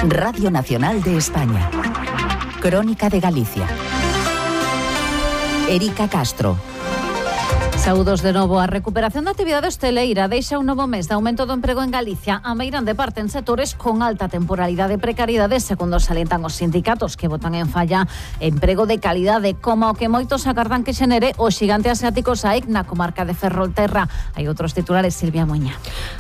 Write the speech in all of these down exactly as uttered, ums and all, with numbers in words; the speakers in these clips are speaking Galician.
Radio Nacional de España. Crónica de Galicia. Erika Castro. Saúdos de novo. A recuperación da actividade hosteleira deixa un novo mes de aumento do emprego en Galicia. A meirande parte en sectores con alta temporalidade e precariedade, segundo salientan os sindicatos que botan en falla emprego de calidade, como o que moitos agardan que xenere o xigante asiático SAIC na comarca de Ferrolterra. Hai outros titulares, Silvia Moña.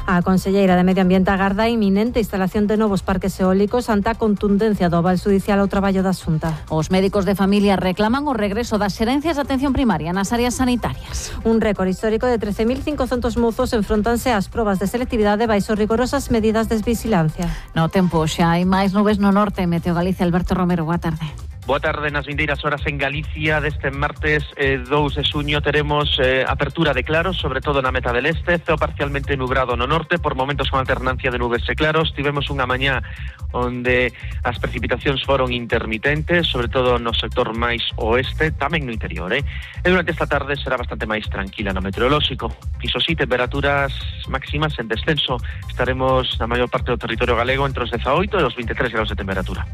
A conselleira de Medio Ambiente agarda a inminente instalación de novos parques eólicos ante a contundencia do aval judicial ao traballo da Xunta. Os médicos de familia reclaman o regreso das xerencias de atención primaria nas áreas sanitarias. Un récord histórico de trece mil cincocentos mozos enfrontanse ás probas de selectividade baixo rigorosas medidas de vigilancia. No tempo, xa hai máis nubes no norte. Meteo Galicia, Alberto Romero, boa tarde. Boa tarde. Nas vindeiras horas en Galicia deste martes eh, dous de xuño teremos eh, apertura de claros, sobre todo na meta del este, ceo parcialmente nubrado no norte, por momentos con alternancia de nubes e claros. Tivemos unha mañá onde as precipitacións foron intermitentes, sobre todo no sector máis oeste, tamén no interior, eh? E durante esta tarde será bastante máis tranquila no meteorolóxico. Iso sí, temperaturas máximas en descenso. Estaremos na maior parte do territorio galego entre os dezaoito e os vinte e tres graus de temperatura.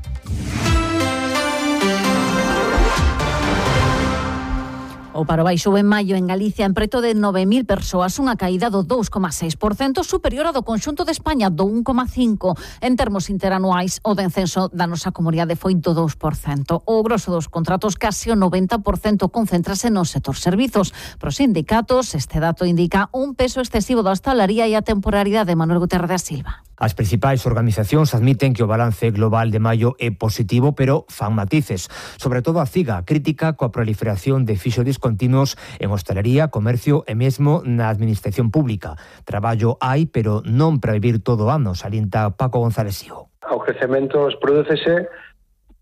O paro baixou en maio en Galicia en preto de nove mil persoas, unha caída do dous coma seis por cento, superior ao do conxunto de España do un coma cinco por cento. En termos interanuais, o descenso da nosa comunidade foi do dous por cento. O grosso dos contratos, case o noventa por cento, concéntrase no sector servizos. Para os sindicatos, este dato indica un peso excesivo da hostalaría e a temporalidade de Manuel Guterres da Silva. As principais organizacións admiten que o balance global de maio é positivo, pero fan matices. Sobre todo a CIGA crítica coa proliferación de fixos discontinuos en hostalería, comercio e mesmo na administración pública. Traballo hai, pero non para vivir todo o ano, salienta Paco González Sigo. O crecemento prodúcese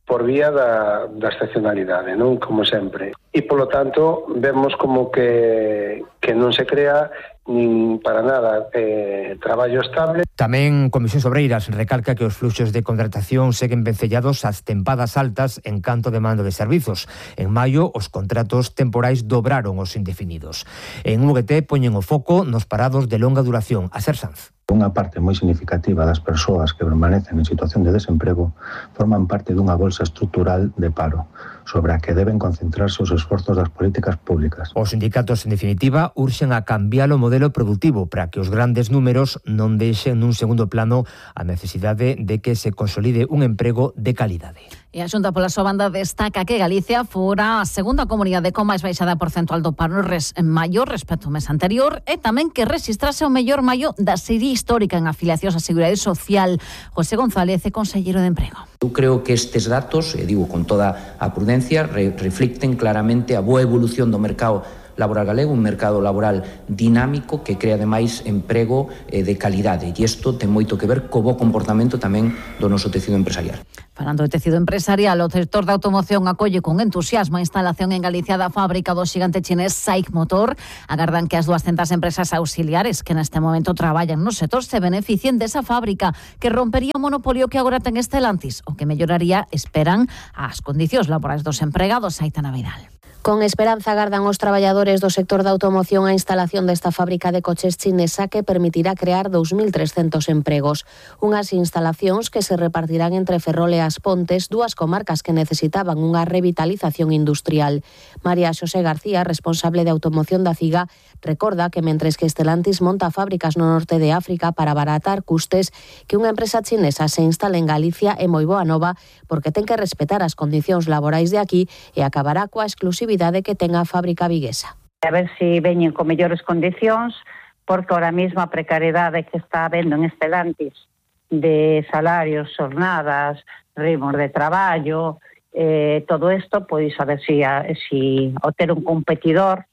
por vía da, da estacionalidade, non? Como sempre. E, polo tanto, vemos como que, que non se crea nin para nada eh, traballo estable. Tamén Comisións Obreiras recalca que os fluxos de contratación seguen vencellados ás tempadas altas en canto de mando de servizos. En maio, os contratos temporais dobraron os indefinidos. En U G T poñen o foco nos parados de longa duración. A Ser Sanz. Unha parte moi significativa das persoas que permanecen en situación de desemprego forman parte dunha bolsa estrutural de paro, sobre a que deben concentrarse os esforzos das políticas públicas. Os sindicatos, en definitiva, urxen a cambiar o modelo productivo para que os grandes números non deixen nun segundo plano a necesidade de que se consolide un emprego de calidade. E a Xunta, pola súa banda, destaca que Galicia fora a segunda comunidade con máis baixada porcentual do paro en maio respecto ao mes anterior, e tamén que registrase o mellor maio da serie histórica en afiliacións á Seguridade Social. José González é conselleiro de Emprego. Eu creo que estes datos, e digo con toda a prudencia, re reflicten claramente a boa evolución do mercado laboral galego, un mercado laboral dinámico que crea ademais emprego eh, de calidade, e isto ten moito que ver co bo comportamento tamén do noso tecido empresarial. Falando de tecido empresarial, o sector da automoción acolle con entusiasmo a instalación en Galicia da fábrica do xigante chinés SAIC Motor. Agardan que as duascentas empresas auxiliares que neste momento traballan no sector se beneficien desa fábrica, que rompería o monopolio que agora ten Stellantis, o que melloraría, esperan, as condicións laborais dos empregados. Aitana Vidal. Con esperanza agardan os traballadores do sector da automoción a instalación desta fábrica de coches chinesa que permitirá crear dous mil trescentos empregos. Unhas instalacións que se repartirán entre Ferrol e As Pontes, dúas comarcas que necesitaban unha revitalización industrial. María Xosé García, responsable de automoción da CIGA, recorda que mentres que Stellantis monta fábricas no norte de África para abaratar custes, que unha empresa chinesa se instale en Galicia é moi boa nova porque ten que respetar as condicións laborais de aquí e acabará coa exclusividade que ten a fábrica viguesa. A ver se veñen con mellores condicións, porque ahora mesmo a precariedade que está habendo en Stellantis de salarios, xornadas, ritmos de traballo, eh, todo isto, pois a ver se si, si ao ter un competidor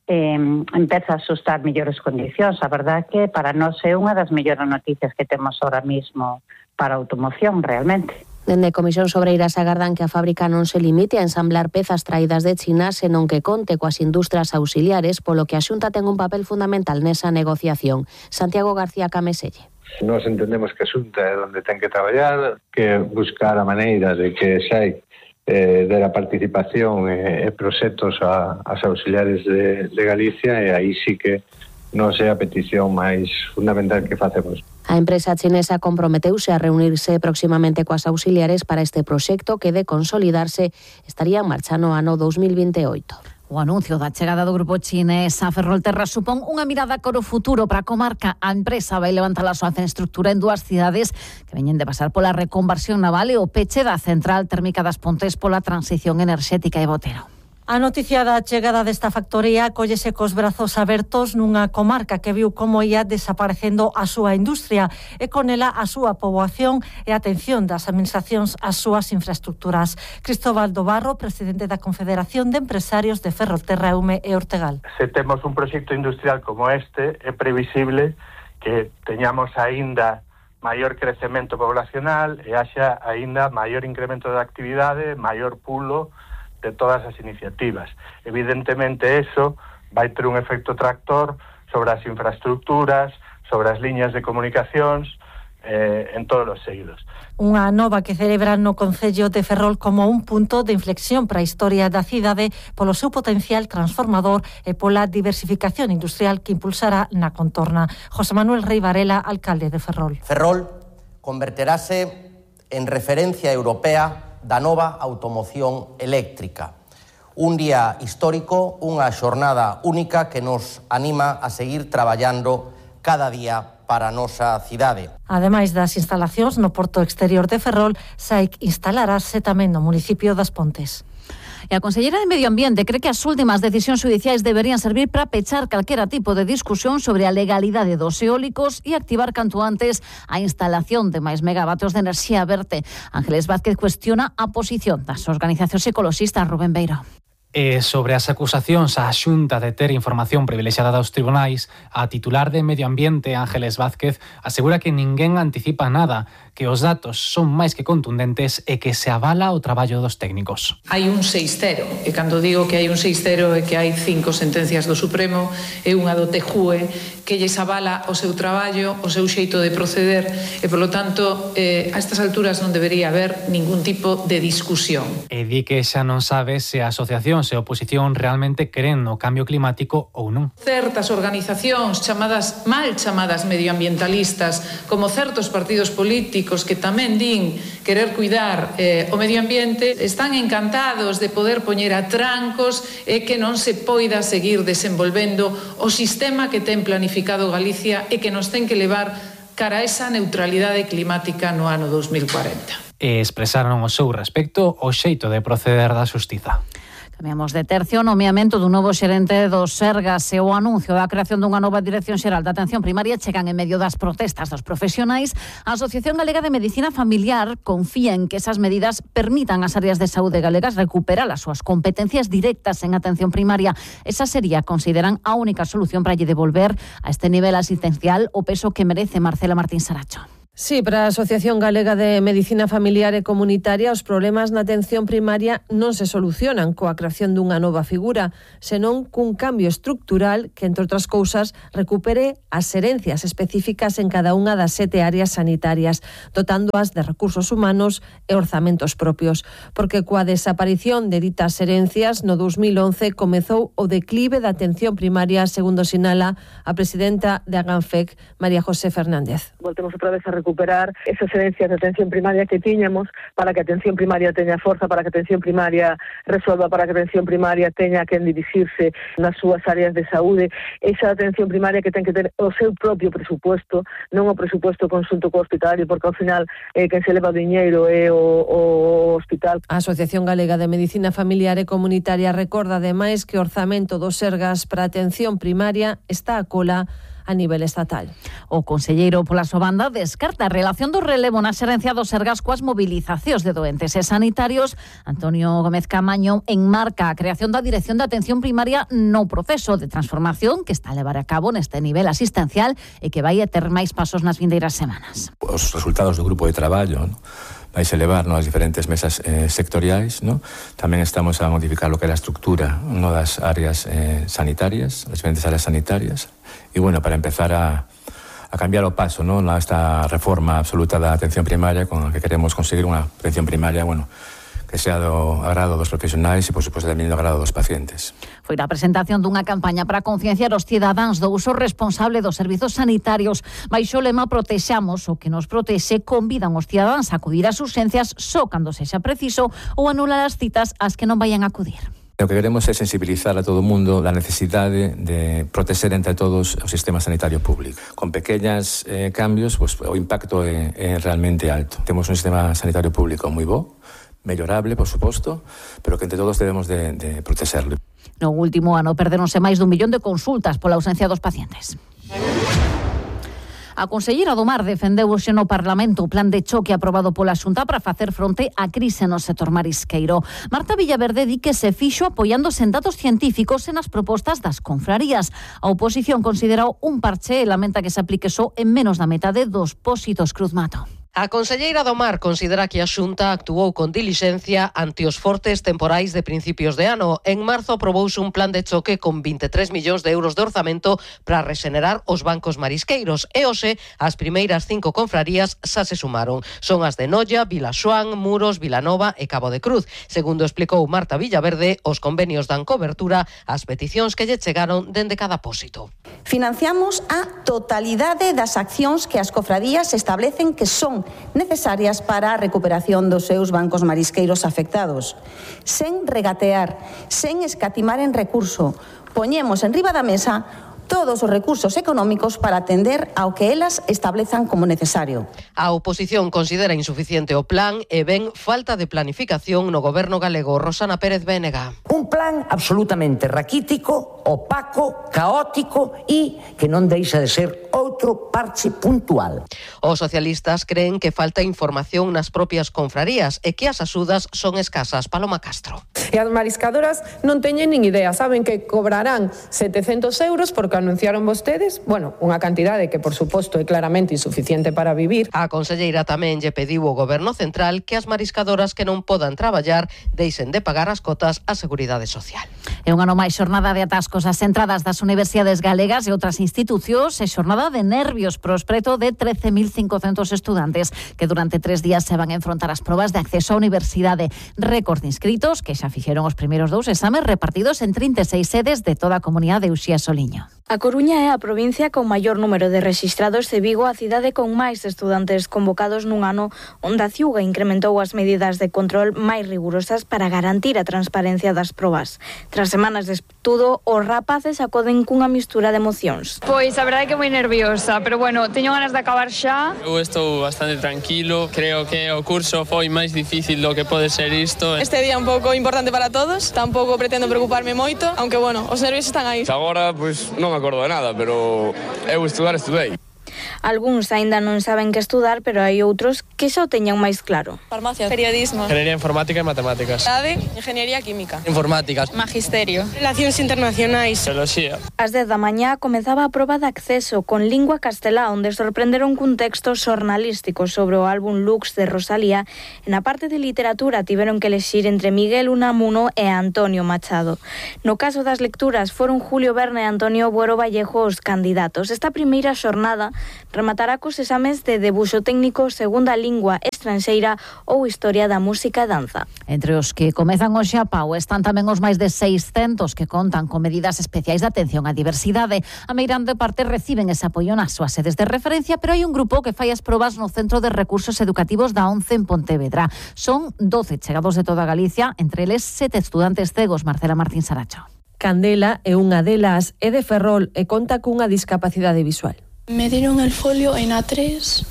eh, empeza a asustar mellores condicións. A verdade que para nós é unha das mellores noticias que temos ahora mesmo para a automoción, realmente. Dende Comisións Obreiras agardan que a fábrica non se limite a ensamblar pezas traídas de China, senón que conte coas industrias auxiliares, polo que a Xunta ten un papel fundamental nesa negociación. Santiago García Cameselle. Nós entendemos que a Xunta é onde ten que traballar, que buscar a maneira de que SAIC eh, dera participación e, e proxectos a, as auxiliares de, de Galicia, e aí sí que non é a petición máis fundamental que facemos. A empresa chinesa comprometeuse a reunirse proximamente coas auxiliares para este proxecto que, de consolidarse, estaría en marcha no ano dous mil vinte e oito. O anuncio da chegada do grupo chinés a Ferrolterra supón unha mirada cara ao futuro para a comarca. A empresa vai levantar a súa infraestructura en dúas cidades que veñen de pasar pola reconversión naval e o peche da central térmica das Pontes pola transición enerxética e Botero. A noticia da chegada desta factoría cóllese cos brazos abertos nunha comarca que viu como ia desaparecendo a súa industria e con ela a súa poboación e a atención das administracións ás súas infraestructuras. Cristóbal do Barro, presidente da Confederación de Empresarios de Ferrolterra, Eume e Ortegal. Se temos un proxecto industrial como este, é previsible que teñamos aínda maior crecemento poblacional e haxa aínda maior incremento de actividade, maior pulo de todas as iniciativas. Evidentemente, eso vai ter un efecto tractor sobre as infraestructuras, sobre as liñas de comunicacións, eh, en todos os eidos. Unha nova que celebran no Concello de Ferrol como un punto de inflexión para a historia da cidade polo seu potencial transformador e pola diversificación industrial que impulsará na contorna. José Manuel Rey Varela, alcalde de Ferrol. Ferrol converterase en referencia europea da nova automoción eléctrica. Un día histórico, unha xornada única que nos anima a seguir traballando cada día para a nosa cidade. Ademais das instalacións no porto exterior de Ferrol, S A I C instalarase tamén no municipio das Pontes. E a Conselleira de Medio Ambiente cree que as últimas decisións xudiciais deberían servir para pechar calquera tipo de discusión sobre a legalidade dos eólicos e activar canto antes a instalación de máis megavatios de enerxía verde. Ángeles Vázquez cuestiona a posición das organizacións ecoloxistas. Rubén Beiro. E sobre as acusacións á Xunta de ter información privilexiada dos tribunais, a titular de Medio Ambiente, Ángeles Vázquez, asegura que ninguén anticipa nada, que os datos son máis que contundentes e que se avala o traballo dos técnicos. Hai un seis cero, e cando digo que hai un seis cero é que hai cinco sentencias do Supremo e unha do T J U E que lles avala o seu traballo, o seu xeito de proceder e, polo tanto, eh, a estas alturas non debería haber ningún tipo de discusión. E di que xa non sabe se a asociación e a oposición realmente creen no cambio climático ou non. Certas organizacións chamadas mal chamadas medioambientalistas, como certos partidos políticos que tamén din querer cuidar eh, o medio ambiente, están encantados de poder poñer a trancos e que non se poida seguir desenvolvendo o sistema que ten planificado Galicia e que nos ten que levar cara a esa neutralidade climática no ano dos mil cuarenta. E expresaron o seu respecto ao xeito de proceder da xustiza. Cambiamos de tercio, o nomeamento dun novo xerente do Sergas e o anuncio da creación dunha nova Dirección Xeral da Atención Primaria chegan en medio das protestas dos profesionais. A Asociación Galega de Medicina Familiar confía en que esas medidas permitan ás áreas de saúde galegas recuperar as súas competencias directas en atención primaria. Esa sería, consideran, a única solución para lle devolver a este nivel asistencial o peso que merece. Marcela Martín Saracho. Sí, para a Asociación Galega de Medicina Familiar e Comunitaria os problemas na atención primaria non se solucionan coa creación dunha nova figura, senón cun cambio estructural que, entre outras cousas, recupere as herencias específicas en cada unha das sete áreas sanitarias, dotándoas de recursos humanos e orzamentos propios. Porque coa desaparición de ditas herencias, no dos mil once comezou o declive da atención primaria, segundo sinala a presidenta de Aganfec, María José Fernández. Voltemos outra vez a recuperar esas herencias de atención primaria que tiñamos para que a atención primaria teña forza, para que a atención primaria resolva, para que a atención primaria teña que dirixirse nas súas áreas de saúde, esa atención primaria que ten que ter o seu propio presupuesto, non o presupuesto conxunto co hospitalario, porque ao final eh, quen se leva o diñeiro é o, o hospital. A Asociación Galega de Medicina Familiar e Comunitaria recorda ademais que o orzamento do Sergas para a atención primaria está a cola a nivel estatal. O conselleiro pola súa banda descarta a relación do relevo na xerencia do Sergas coas mobilizacións de doentes e sanitarios. Antonio Gómez Camaño enmarca a creación da Dirección de Atención Primaria no proceso de transformación que está a levar a cabo neste nivel asistencial e que vai a ter máis pasos nas vindeiras semanas. Os resultados do grupo de traballo, ¿no?, vais a elevar nas diferentes mesas eh, sectoriais, ¿no? Tamén estamos a modificar lo que é a estructura, no, das áreas eh, sanitarias, as diferentes áreas sanitarias, e bueno, para empezar a, a cambiar o paso, ¿no?, nesta reforma absoluta da atención primaria con a que queremos conseguir unha atención primaria, bueno, que que sea do agrado dos profesionais e, por suposto, tamén do agrado dos pacientes. Foi a presentación dunha campaña para concienciar os cidadáns do uso responsable dos servizos sanitarios. Baixo o lema Protexamos o que nos protexe, convidan os cidadáns a acudir ás urxencias só cando sexa preciso ou anular as citas ás que non vayan a acudir. O que queremos é sensibilizar a todo o mundo da necesidade de proteger entre todos o sistema sanitario público. Con pequeñas eh, cambios, pues, o impacto é, é realmente alto. Temos un sistema sanitario público moi bo, mellorable, por suposto, pero que entre todos debemos de, de protegerlo. No último ano perderonse máis dun millón de consultas pola ausencia dos pacientes. A conselleira do Mar defendeu hoxe no Parlamento o plan de choque aprobado pola Xunta para facer fronte á crise no sector marisqueiro. Marta Villaverde di que se fixo apoiándose en datos científicos e nas propostas das confrarías. A oposición considera un parche e lamenta que se aplique só en menos da metade dos pósitos Cruzmato. A conselleira do Mar considera que a Xunta actuou con dilixencia ante os fortes temporais de principios de ano. En marzo aprobouse un plan de choque con vinte e tres millóns de euros de orzamento para rexenerar os bancos marisqueiros. E hoxe, as primeiras cinco confrarías xa se sumaron. Son as de Noia, Vilaxoán, Muros, Vilanova e Cabo de Cruz. Segundo explicou Marta Villaverde, os convenios dan cobertura ás peticións que lle chegaron dende cada pósito. Financiamos a totalidade das accións que as cofradías establecen que son necesarias para a recuperación dos seus bancos marisqueiros afectados. Sen regatear, sen escatimar en recurso, poñemos en riba da mesa todos os recursos económicos para atender ao que elas establezan como necesario. A oposición considera insuficiente o plan e ven falta de planificación no goberno galego. Rosana Pérez Bénega. Un plan absolutamente raquítico, opaco, caótico e que non deixa de ser outro parche puntual. Os socialistas creen que falta información nas propias confrarías e que as axudas son escasas. Paloma Castro. E as mariscadoras non teñen nin idea, saben que cobrarán setecentos euros porque anunciaron vostedes, bueno, unha cantidade que por suposto é claramente insuficiente para vivir. A conselleira tamén lle pediu ao goberno central que as mariscadoras que non podan traballar deixen de pagar as cotas á Seguridade Social. É un ano máis xornada de atascos ás entradas das universidades galegas e outras institucións e xornada de nervios pros preto de trece mil cincocentos estudantes que durante tres días se van a enfrontar as probas de acceso á universidade. Récord de inscritos que xa fixeron os primeiros dous exames repartidos en trinta e seis sedes de toda a comunidade de Uxía Soliño. A Coruña é a provincia con maior número de rexistrados e Vigo a cidade con máis estudantes convocados nun ano onde a Ciuga incrementou as medidas de control máis rigurosas para garantir a transparencia das probas. Tras semanas de estudo, os rapaces acoden cunha mistura de emocións. Pois a verdade é que moi nerviosa, pero bueno, teño ganas de acabar xa. Eu estou bastante tranquilo, creo que o curso foi máis difícil do que pode ser isto. Este día é un pouco importante para todos, tampouco pretendo preocuparme moito, aunque bueno, os nervios están aí. Agora, pois, non me acordo de nada, pero eu estudar estudei. Algúns aínda non saben que estudar, pero hai outros que xa o teñan máis claro. Farmacia, periodismo, Ingeniería informática e matemáticas, Ade, Ingeniería química, informáticas, Magisterio, Relacións internacionais, Teoloxía. Ás dez da mañá comezaba a proba de acceso con lingua castelá, onde sorprenderon cun texto xornalístico sobre o álbum Lux de Rosalía. E na parte de literatura tiveron que elexir entre Miguel Unamuno e Antonio Machado. No caso das lecturas foron Julio Verne e Antonio Buero Vallejo os candidatos. Esta primeira xornada rematará cos exames de debuxo técnico, segunda lingua estranxeira ou historia da música e danza. Entre os que comezan hoxe a pau están tamén os máis de seiscentos que contan con medidas especiais de atención á diversidade. A meirande parte reciben ese apoio nas súas sedes de referencia, pero hai un grupo que fai as probas no Centro de Recursos Educativos da ONCE en Pontevedra. Son doce chegados de toda Galicia, entre eles sete estudantes cegos. Marcela Martín Saracho. Candela é unha delas, é de Ferrol e conta cunha discapacidade visual. Me dieron el folio en A tres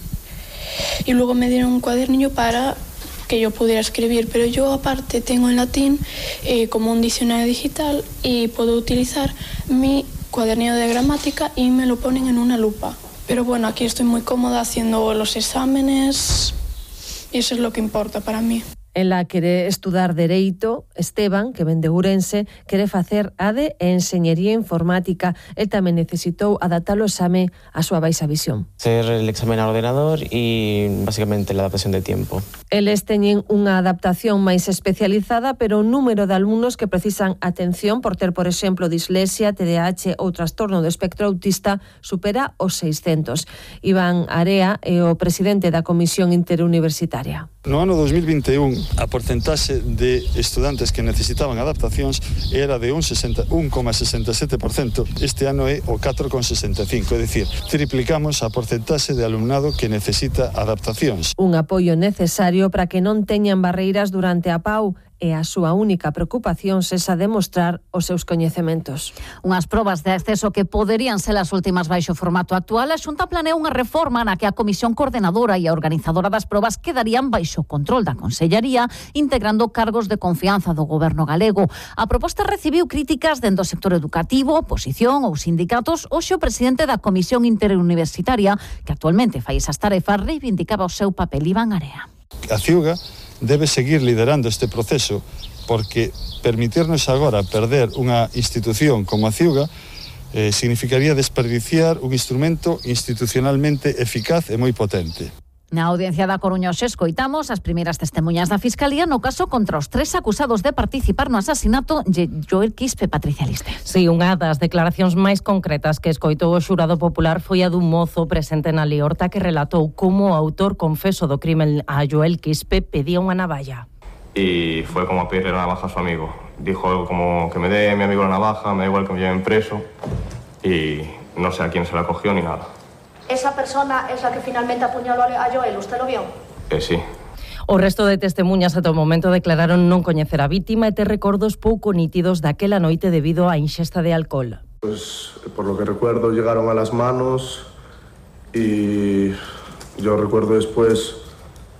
y luego me dieron un cuadernillo para que yo pudiera escribir, pero yo aparte tengo en latín eh, como un diccionario digital y puedo utilizar mi cuadernillo de gramática y me lo ponen en una lupa. Pero bueno, aquí estoy muy cómoda haciendo los exámenes y eso es lo que importa para mí. En la quere estudar Dereito, Esteban, que ven de Ourense, quere facer A D e Enxeñería Informática. El tamén necesitou adaptar o exame a súa baixa visión. Hacer el examen al ordenador y básicamente la adaptación de tiempo. Eles teñen unha adaptación máis especializada, pero o número de alumnos que precisan atención por ter, por exemplo, dislexia, T D A H ou trastorno do espectro autista supera os seiscentos. Iván Area é o presidente da Comisión Interuniversitaria. No ano dos mil vinte e un a porcentaxe de estudantes que necesitaban adaptacións era de un coma sesenta e sete por cento, este ano é o catro coma sesenta e cinco, é dicir, triplicamos a porcentaxe de alumnado que necesita adaptacións. Un apoio necesario para que non teñan barreiras durante a P A U e a súa única preocupación sexa demostrar os seus coñecementos. Unhas probas de acceso que poderían ser as últimas baixo formato actual, a Xunta planea unha reforma na que a Comisión Coordenadora e a organizadora das probas quedarían baixo control da Consellería, integrando cargos de confianza do Goberno galego. A proposta recibiu críticas dentro do sector educativo, oposición ou sindicatos. Hoxe o presidente da Comisión Interuniversitaria, que actualmente fai esas tarefas, reivindicaba o seu papel. Iván Area. A Ciuga debe seguir liderando este proceso, porque permitirnos agora perder unha institución como a Ciuga eh, significaría desperdiciar un instrumento institucionalmente eficaz e moi potente. Na audiencia da Coruña hoxe escoitamos as primeiras testemunhas da Fiscalía no caso contra os tres acusados de participar no asasinato de Joel Quispe. Patricia Liste. Si, unha das declaracións máis concretas que escoitou o xurado popular foi a dun mozo presente na liorta que relatou como o autor confeso do crimen a Joel Quispe pedía unha navalla. Y fue como a pedirle la navaja a su amigo. Dijo algo como que me dé mi amigo la navaja, me da igual que me lleven preso, y no sé a quién se la cogió ni nada. ¿Esa persona es la que finalmente apuñaló a Joel? ¿Usted lo vio? Eh, sí. O resto de testemunhas ata o momento declararon non coñecer a vítima e ter recordos pouco nítidos daquela noite debido á inxesta de alcohol. Pues por lo que recuerdo llegaron a las manos y yo recuerdo después,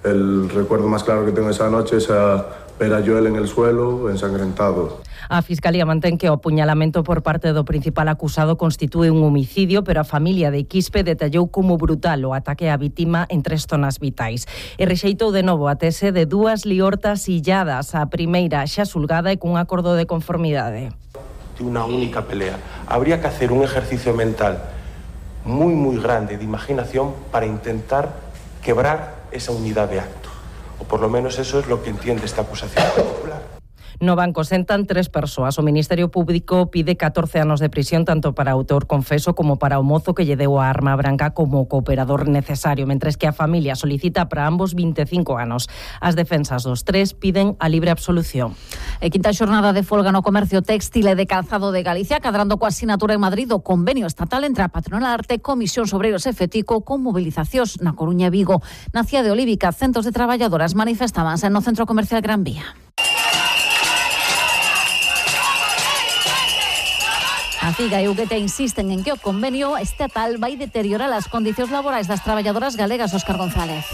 el recuerdo más claro que tengo esa noche es a ver a Joel en el suelo, ensangrentado. A Fiscalía mantén que o apuñalamento por parte do principal acusado constitúe un homicidio, pero a familia de Quispe detallou como brutal o ataque á vítima en tres zonas vitais. E rexeitou de novo a tese de dúas liortas illadas, a primeira xa xulgada e cun acordo de conformidade. De una única pelea. Habría que hacer un ejercicio mental muy, muy grande de imaginación para intentar quebrar esa unidad de acto. O por lo menos eso es lo que entiende esta acusación particular. No banco sentan tres persoas. O Ministerio Público pide catorce anos de prisión tanto para o autor confeso como para o mozo que lle deu a arma branca como cooperador necesario, mentres que a familia solicita para ambos vinte e cinco anos. As defensas dos tres piden a libre absolución. E quinta xornada de folga no comercio téxtil e de calzado de Galicia, cadrando coa sinatura en Madrid o convenio estatal entre a Patronal Arte, Comisión Obreiros e Fetico, con mobilizacións na Coruña e Vigo. Na Cía de Olívica, centos de traballadoras manifestabanse no centro comercial Gran Vía. A Figa e U G T insisten en que o convenio estatal vai deteriorar as condicións laborais das traballadoras galegas. Óscar González.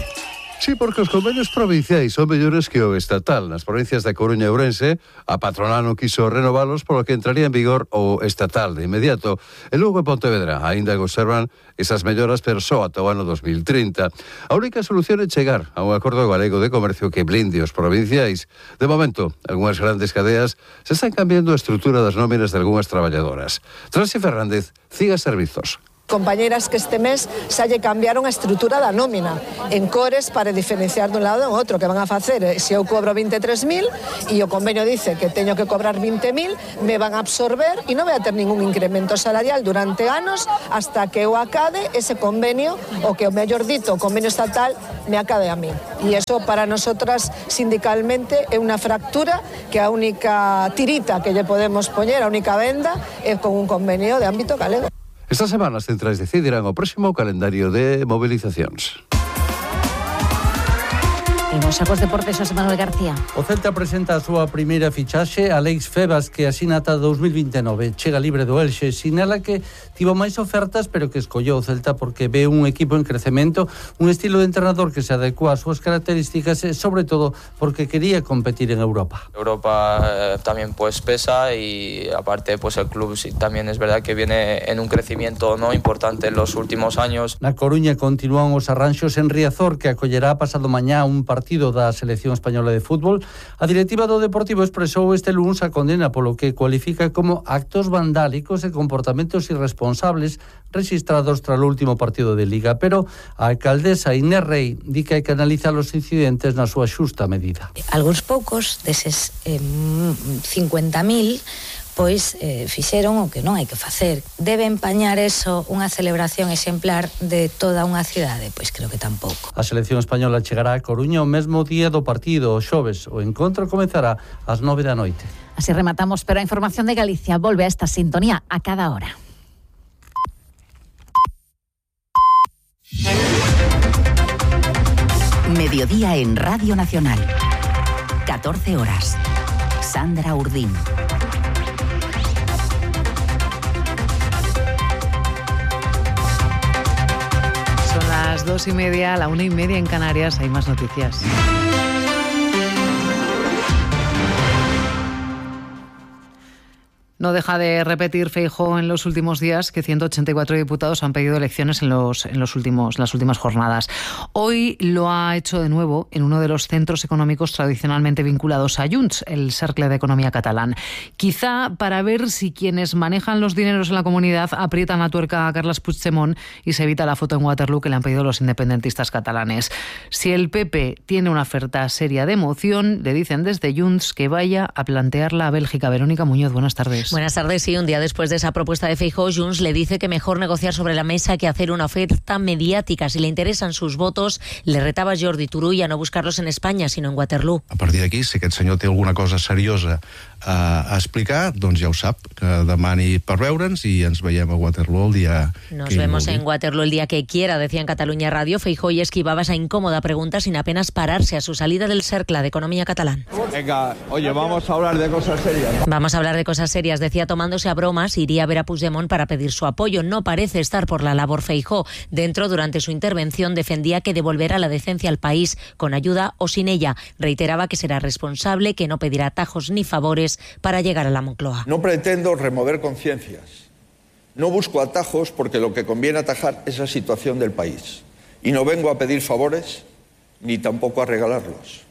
Sí, porque os convenios provinciais son mellores que o estatal. Nas provincias da Coruña e Ourense, a patronal non quiso renovalos, polo que entraría en vigor o estatal de inmediato. E Lugo e Pontevedra aínda conservan esas melloras, pero só ata o ano dos mil trinta. A única solución é chegar a un acordo galego de comercio que blinde os provinciais. De momento, algunhas grandes cadeas se están cambiando a estrutura das nóminas de algunhas traballadoras. Transi Fernández, Ciga Servizos. Compañeras que este mes xa lle cambiaron a estrutura da nómina en cores para diferenciar dun lado e outro, que van a facer, se eu cobro vinte e tres mil e o convenio dice que teño que cobrar vinte mil, me van a absorber e non vai a ter ningún incremento salarial durante anos hasta que eu acade ese convenio, o que o mellor dito, o convenio estatal me acade a mí. E eso para nosotras sindicalmente é unha fractura que a única tirita que lle podemos poñer, a única venda, é con un convenio de ámbito galego. Estas semanas centrais decidirán o próximo calendario de movilizacións. E nos Sacos Deportes, José Manuel García. O Celta presenta a súa primeira fichaxe, Alex Febas, que asina ata dous mil vinte e nove. Chega libre do Elxe, sinala que tivo máis ofertas, pero que escolleu o Celta porque ve un equipo en crecemento, un estilo de entrenador que se adecua ás súas características e, sobre todo, porque quería competir en Europa. Europa eh, también pues pesa y aparte pues el club sí, también es verdad que viene en un crecimiento no importante en los últimos años. Na Coruña continúan os arranxos en Riazor, que acollerá pasado mañá un partido partido da selección española de fútbol. A directiva do Deportivo expresou este luns a condena polo que cualifica como actos vandálicos e comportamentos irresponsables registrados tras o último partido de Liga, pero a alcaldesa Inés Rey di que hai que analizar os incidentes na súa xusta medida. Alguns poucos deses eh, cincuenta mil pois eh, fixeron o que non hai que facer. Debe empañar eso unha celebración exemplar de toda unha cidade? Pois creo que tampouco. A selección española chegará a Coruña o mesmo día do partido, o xoves. O encontro comezará ás nove da noite. Así rematamos, pero a información de Galicia volve a esta sintonía a cada hora. Mediodía en Radio Nacional. catorce horas. Sandra Urdín. Son las dos y media, la una y media en Canarias. Hay más noticias. No deja de repetir Feijóo en los últimos días que ciento ochenta y cuatro diputados han pedido elecciones en los, en los últimos, las últimas jornadas. Hoy lo ha hecho de nuevo en uno de los centros económicos tradicionalmente vinculados a Junts, el Cercle de Economía catalán. Quizá para ver si quienes manejan los dineros en la comunidad aprietan la tuerca a Carles Puigdemont y se evita la foto en Waterloo que le han pedido los independentistas catalanes. Si el P P tiene una oferta seria de moción, le dicen desde Junts que vaya a plantearla a Bélgica. Verónica Muñoz, buenas tardes. Buenas tardes. Sí, un día después de esa propuesta de Feijóo, Junts le dice que mejor negociar sobre la mesa que hacer una oferta mediática. Si le interesan sus votos, le retava Jordi Turull a no buscarlos en España, sino en Waterloo. A partir d'aquí, si aquest senyor té alguna cosa seriosa a, a explicar, doncs ja ho sap, que demani per veure'ns i ens veiem a Waterloo el dia Nos que vemos en Waterloo el día que quiera, decía en Cataluña Radio. Feijóo y esquivaba esa incómoda pregunta sin apenas pararse a su salida del Cercle de Economía catalán. Venga, oye, vamos a hablar de cosas serias. Vamos a hablar de cosas serias, decía tomándose a bromas, iría a ver a Puigdemont para pedir su apoyo. No parece estar por la labor Feijóo. Dentro, durante su intervención, defendía que devolverá la decencia al país con ayuda o sin ella. Reiteraba que será responsable, que no pedirá atajos ni favores para llegar a la Moncloa. No pretendo remover conciencias. No busco atajos porque lo que conviene atajar es la situación del país. Y no vengo a pedir favores ni tampoco a regalarlos.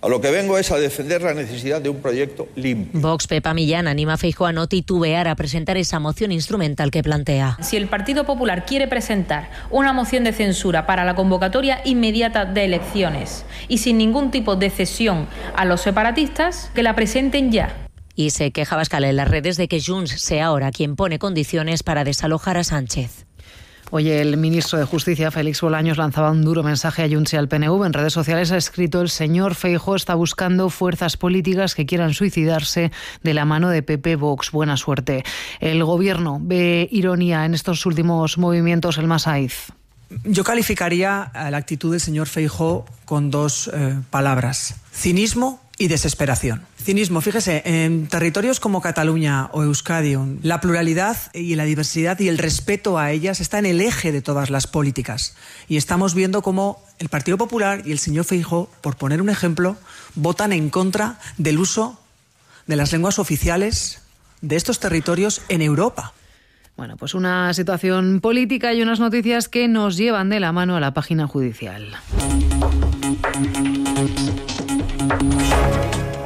A lo que vengo es a defender la necesidad de un proyecto limpio. Vox, Pepa Millán, anima a Feijóo a no titubear a presentar esa moción instrumental que plantea. Si el Partido Popular quiere presentar una moción de censura para la convocatoria inmediata de elecciones y sin ningún tipo de cesión a los separatistas, que la presenten ya. Y se queja Abascal en las redes de que Junts sea ahora quien pone condiciones para desalojar a Sánchez. Oye, el ministro de Justicia, Félix Bolaños, lanzaba un duro mensaje a Junts y al P N V. En redes sociales ha escrito: el señor Feijóo está buscando fuerzas políticas que quieran suicidarse de la mano de P P Vox. Buena suerte. El gobierno ve ironía en estos últimos movimientos, el Masaiz. Yo calificaría la actitud del señor Feijóo con dos eh, palabras: cinismo y desesperación. Cinismo, fíjese, en territorios como Cataluña o Euskadi, la pluralidad y la diversidad y el respeto a ellas está en el eje de todas las políticas. Y estamos viendo cómo el Partido Popular y el señor Feijóo, por poner un ejemplo, votan en contra del uso de las lenguas oficiales de estos territorios en Europa. Bueno, pues una situación política y unas noticias que nos llevan de la mano a la página judicial.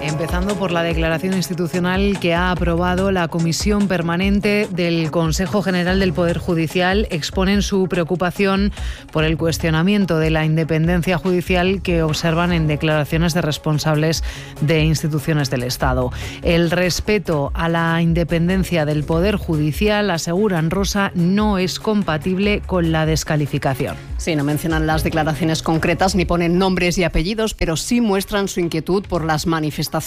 Empezando por la declaración institucional que ha aprobado la Comisión Permanente del Consejo General del Poder Judicial. Exponen su preocupación por el cuestionamiento de la independencia judicial que observan en declaraciones de responsables de instituciones del Estado. El respeto a la independencia del Poder Judicial, aseguran, Rosa, no es compatible con la descalificación. Sí, no mencionan las declaraciones concretas ni ponen nombres y apellidos, pero sí muestran su inquietud por las manifestaciones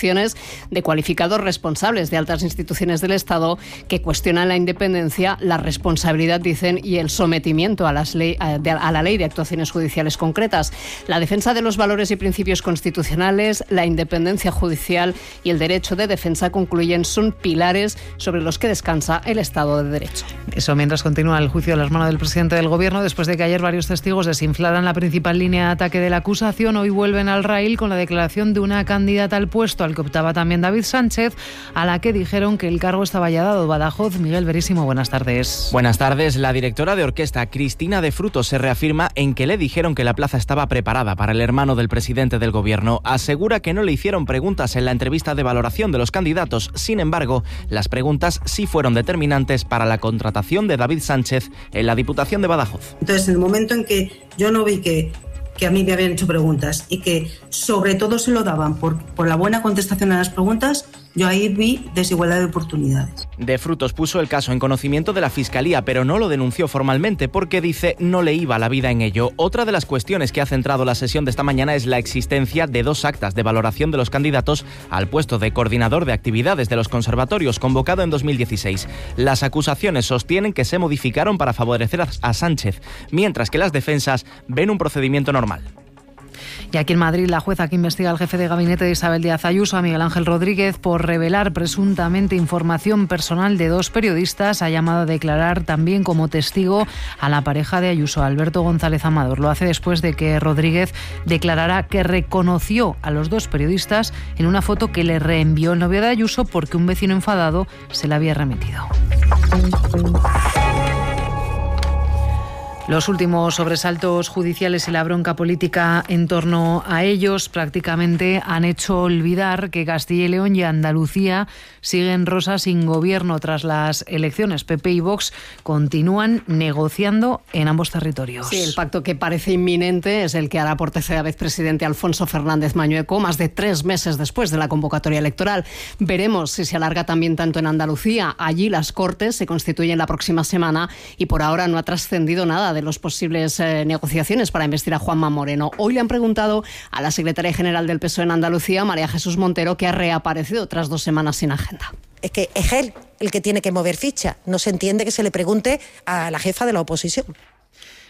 de cualificados responsables de altas instituciones del Estado que cuestionan la independencia, la responsabilidad, dicen, y el sometimiento a, las ley, a, de, a la ley de actuaciones judiciales concretas. La defensa de los valores y principios constitucionales, la independencia judicial y el derecho de defensa, concluyen, son pilares sobre los que descansa el Estado de Derecho. Eso mientras continúa el juicio de las manos del presidente del Gobierno, después de que ayer varios testigos desinflaran la principal línea de ataque de la acusación. Hoy vuelven al raíl con la declaración de una candidata al puesto al que optaba también David Sánchez, a la que dijeron que el cargo estaba ya dado. Badajoz, Miguel Verísimo, buenas tardes. Buenas tardes. La directora de orquesta, Cristina de Frutos, se reafirma en que le dijeron que la plaza estaba preparada para el hermano del presidente del Gobierno. Asegura que no le hicieron preguntas en la entrevista de valoración de los candidatos. Sin embargo, las preguntas sí fueron determinantes para la contratación de David Sánchez en la Diputación de Badajoz. Entonces, en el momento en que yo no vi que que a mí me habían hecho preguntas y que sobre todo se lo daban por, por la buena contestación a las preguntas, Yo ahí vi desigualdad de oportunidades. De Frutos puso el caso en conocimiento de la Fiscalía, pero no lo denunció formalmente porque dice no le iba la vida en ello. Otra de las cuestiones que ha centrado la sesión de esta mañana es la existencia de dos actas de valoración de los candidatos al puesto de coordinador de actividades de los conservatorios convocado en dos mil dieciséis. Las acusaciones sostienen que se modificaron para favorecer a Sánchez, mientras que las defensas ven un procedimiento normal. Y aquí en Madrid, la jueza que investiga al jefe de gabinete de Isabel Díaz Ayuso, a Miguel Ángel Rodríguez, por revelar presuntamente información personal de dos periodistas, ha llamado a declarar también como testigo a la pareja de Ayuso, Alberto González Amador. Lo hace después de que Rodríguez declarara que reconoció a los dos periodistas en una foto que le reenvió el novio de Ayuso porque un vecino enfadado se la había remitido. Los últimos sobresaltos judiciales y la bronca política en torno a ellos prácticamente han hecho olvidar que Castilla y León y Andalucía siguen rosas sin gobierno tras las elecciones. P P y Vox continúan negociando en ambos territorios. Sí, el pacto que parece inminente es el que hará por tercera vez presidente Alfonso Fernández Mañueco, más de tres meses después de la convocatoria electoral. Veremos si se alarga también tanto en Andalucía. Allí las Cortes se constituyen la próxima semana y por ahora no ha trascendido nada de los posibles eh, negociaciones para investir a Juanma Moreno. Hoy le han preguntado a la secretaria general del P S O E en Andalucía, María Jesús Montero, que ha reaparecido tras dos semanas sin agenda. Es que es él el que tiene que mover ficha. No se entiende que se le pregunte a la jefa de la oposición.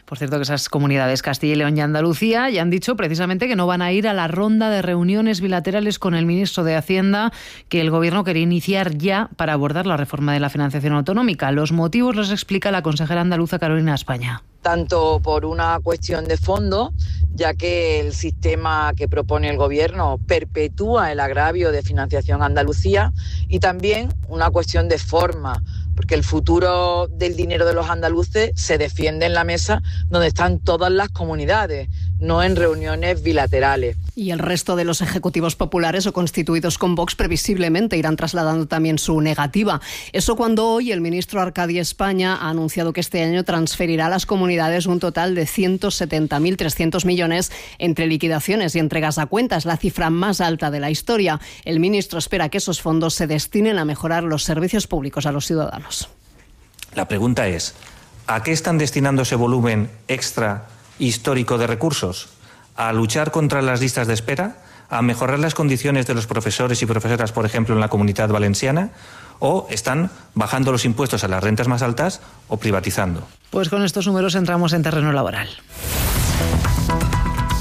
Por cierto, que esas comunidades, Castilla y León y Andalucía, ya han dicho precisamente que no van a ir a la ronda de reuniones bilaterales con el ministro de Hacienda que el Gobierno quería iniciar ya para abordar la reforma de la financiación autonómica. Los motivos los explica la consejera andaluza Carolina España. Tanto por una cuestión de fondo, ya que el sistema que propone el Gobierno perpetúa el agravio de financiación a Andalucía, y también una cuestión de forma, porque el futuro del dinero de los andaluces se defiende en la mesa donde están todas las comunidades, no en reuniones bilaterales. Y el resto de los ejecutivos populares o constituidos con Vox previsiblemente irán trasladando también su negativa. Eso cuando hoy el ministro Arcadi España ha anunciado que este año transferirá a las comunidades un total de ciento setenta mil trescientos millones entre liquidaciones y entregas a cuentas, la cifra más alta de la historia. El ministro espera que esos fondos se destinen a mejorar los servicios públicos a los ciudadanos. La pregunta es, ¿a qué están destinando ese volumen extra histórico de recursos? ¿A luchar contra las listas de espera? ¿A mejorar las condiciones de los profesores y profesoras, por ejemplo, en la Comunidad Valenciana? ¿O están bajando los impuestos a las rentas más altas o privatizando? Pues con estos números entramos en terreno laboral.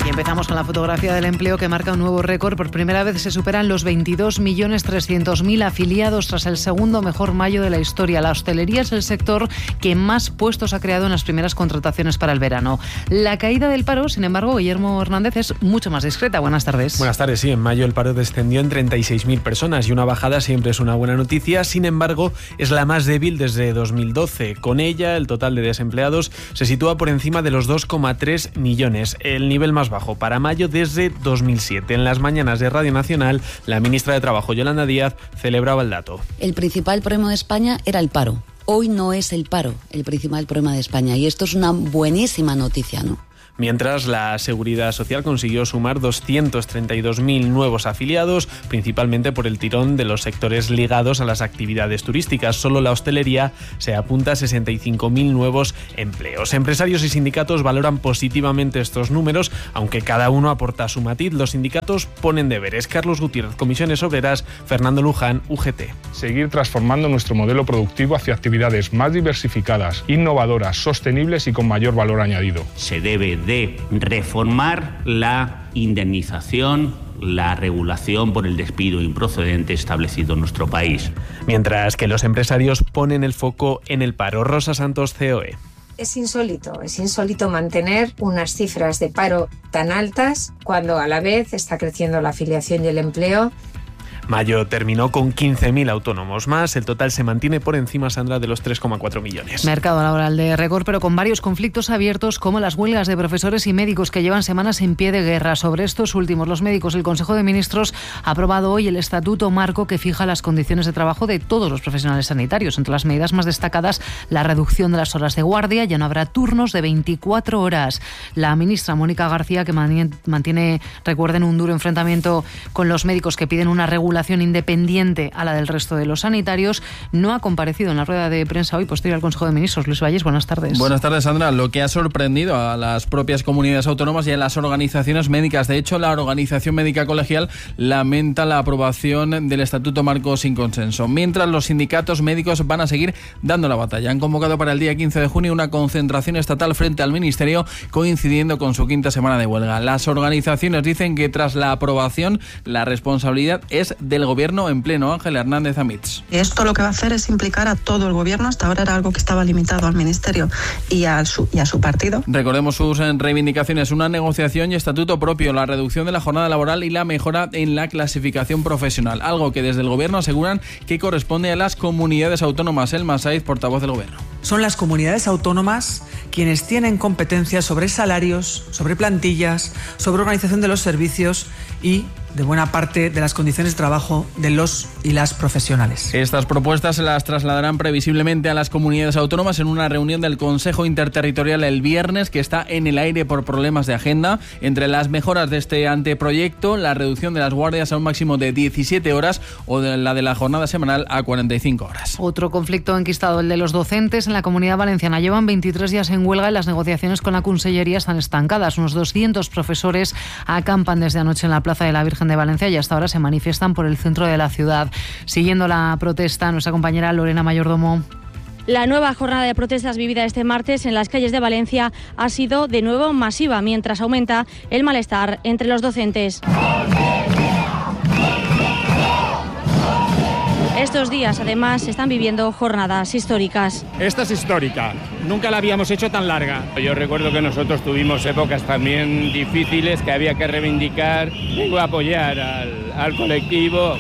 Y empezamos con la fotografía del empleo que marca un nuevo récord. Por primera vez se superan los veintidós millones trescientos mil afiliados tras el segundo mejor mayo de la historia. La hostelería es el sector que más puestos ha creado en las primeras contrataciones para el verano. La caída del paro, sin embargo, Guillermo Hernández, es mucho más discreta. Buenas tardes. Buenas tardes, sí. En mayo el paro descendió en treinta y seis mil personas y una bajada siempre es una buena noticia. Sin embargo, es la más débil desde dos mil doce. Con ella, el total de desempleados se sitúa por encima de los dos coma tres millones, el nivel más bajo para mayo desde dos mil siete. En las mañanas de Radio Nacional, la ministra de Trabajo, Yolanda Díaz, celebraba el dato. El principal problema de España era el paro. Hoy no es el paro el principal problema de España y esto es una buenísima noticia, ¿no? Mientras, la Seguridad Social consiguió sumar doscientos treinta y dos mil nuevos afiliados, principalmente por el tirón de los sectores ligados a las actividades turísticas. Solo la hostelería se apunta a sesenta y cinco mil nuevos empleos. Empresarios y sindicatos valoran positivamente estos números, aunque cada uno aporta su matiz. Los sindicatos ponen deberes. Carlos Gutiérrez, Comisiones Obreras, Fernando Luján, U G T. Seguir transformando nuestro modelo productivo hacia actividades más diversificadas, innovadoras, sostenibles y con mayor valor añadido. Se debe de reformar la indemnización, la regulación por el despido improcedente establecido en nuestro país. Mientras que los empresarios ponen el foco en el paro. Rosa Santos, C O E. Es insólito, es insólito mantener unas cifras de paro tan altas cuando a la vez está creciendo la afiliación y el empleo. Mayo terminó con quince mil autónomos más. El total se mantiene por encima, Sandra, de los tres coma cuatro millones. Mercado laboral de récord, pero con varios conflictos abiertos, como las huelgas de profesores y médicos que llevan semanas en pie de guerra. Sobre estos últimos, los médicos, el Consejo de Ministros ha aprobado hoy el Estatuto Marco que fija las condiciones de trabajo de todos los profesionales sanitarios. Entre las medidas más destacadas, la reducción de las horas de guardia. Ya no habrá turnos de veinticuatro horas. La ministra Mónica García, que mantiene, recuerden, un duro enfrentamiento con los médicos que piden una regulación regulación independiente a la del resto de los sanitarios. No ha comparecido en la rueda de prensa hoy posterior al Consejo de Ministros. Luis Valles, buenas tardes. Buenas tardes, Sandra. Lo que ha sorprendido a las propias comunidades autónomas y a las organizaciones médicas. De hecho, la Organización Médica Colegial lamenta la aprobación del Estatuto Marco sin consenso, mientras los sindicatos médicos van a seguir dando la batalla. Han convocado para el día quince de junio una concentración estatal frente al Ministerio, coincidiendo con su quinta semana de huelga. Las organizaciones dicen que tras la aprobación, la responsabilidad es del Gobierno en pleno. Ángel Hernández Amits. Esto lo que va a hacer es implicar a todo el Gobierno. Hasta ahora era algo que estaba limitado al Ministerio y a su, y a su partido. Recordemos sus reivindicaciones: una negociación y estatuto propio, la reducción de la jornada laboral y la mejora en la clasificación profesional, algo que desde el Gobierno aseguran que corresponde a las comunidades autónomas. Elma Saiz, portavoz del Gobierno. Son las comunidades autónomas quienes tienen competencias sobre salarios, sobre plantillas, sobre organización de los servicios y de buena parte de las condiciones de trabajo de los y las profesionales. Estas propuestas se las trasladarán previsiblemente a las comunidades autónomas en una reunión del Consejo Interterritorial el viernes, que está en el aire por problemas de agenda. Entre las mejoras de este anteproyecto, la reducción de las guardias a un máximo de diecisiete horas o de la de la jornada semanal a cuarenta y cinco horas. Otro conflicto enquistado, el de los docentes en la Comunidad Valenciana. Llevan veintitrés días en huelga y las negociaciones con la Consellería están estancadas. Unos doscientos profesores acampan desde anoche en la Plaza de la Virgen de Valencia y hasta ahora se manifiestan por el centro de la ciudad. Siguiendo la protesta, nuestra compañera Lorena Mayordomo. La nueva jornada de protestas vivida este martes en las calles de Valencia ha sido de nuevo masiva, mientras aumenta el malestar entre los docentes. Estos días, además, se están viviendo jornadas históricas. Esta es histórica. Nunca la habíamos hecho tan larga. Yo recuerdo que nosotros tuvimos épocas también difíciles que había que reivindicar, vengo a apoyar al, al colectivo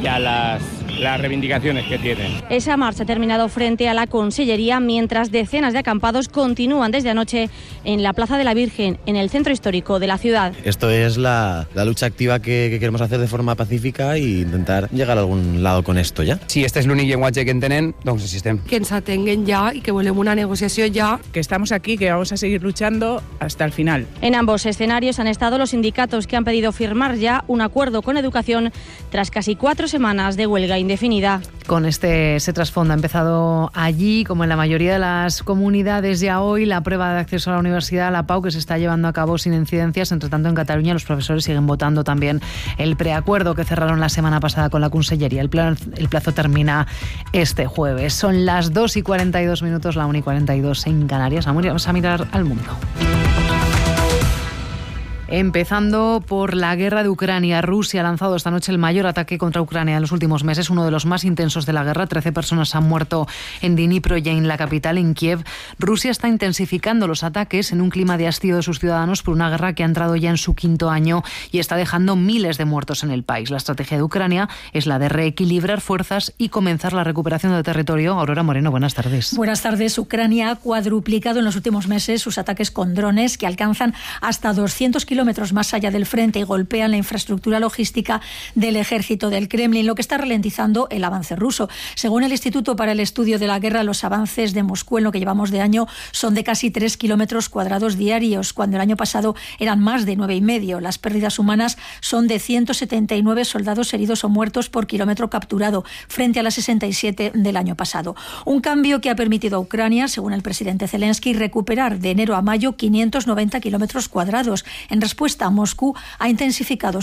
y a las, las reivindicaciones que tienen. Esa marcha ha terminado frente a la Consellería, mientras decenas de acampados continúan desde anoche en la Plaza de la Virgen, en el centro histórico de la ciudad. Esto es la, la lucha activa que, que queremos hacer de forma pacífica e intentar llegar a algun lado con esto ja. Si este és l'únic llenguatge que entenen, doncs així estem. Que ens atenguen ja y que volem una negociació ya. Que estamos aquí, que vamos a seguir luchando hasta el final. En ambos escenarios han estado los sindicatos, que han pedido firmar ya un acuerdo con Educación tras casi cuatro semanas de huelga indefinida. Con este ese trasfondo ha empezado allí, como en la mayoría de las comunidades ya hoy, la prueba de acceso a la universidad, la P A U, que se está llevando a cabo sin incidencias. Entre tanto, en Cataluña los profesores siguen votando también el preacuerdo que cerraron la semana pasada con la Consellería. El plazo, el plazo termina este jueves. Son las dos y cuarenta y dos minutos, la una y cuarenta y dos en Canarias. Vamos a mirar al mundo. Empezando por la guerra de Ucrania. Rusia ha lanzado esta noche el mayor ataque contra Ucrania en los últimos meses, uno de los más intensos de la guerra. Trece personas han muerto en Dnipro y en la capital, en Kiev. Rusia está intensificando los ataques en un clima de hastío de sus ciudadanos por una guerra que ha entrado ya en su quinto año y está dejando miles de muertos en el país. La estrategia de Ucrania es la de reequilibrar fuerzas y comenzar la recuperación del territorio. Aurora Moreno, buenas tardes. Buenas tardes. Ucrania ha cuadruplicado en los últimos meses sus ataques con drones, que alcanzan hasta doscientos kilómetros más allá del frente y golpean la infraestructura logística del ejército del Kremlin, lo que está ralentizando el avance ruso. Según el Instituto para el Estudio de la Guerra, los avances de Moscú en lo que llevamos de año son de casi tres kilómetros cuadrados diarios, cuando el año pasado eran más de nueve y medio. Las pérdidas humanas son de ciento setenta y nueve soldados heridos o muertos por kilómetro capturado, frente a las sesenta y siete del año pasado. Un cambio que ha permitido a Ucrania, según el presidente Zelensky, recuperar de enero a mayo quinientos noventa kilómetros cuadrados. En respuesta, Moscú ha intensificado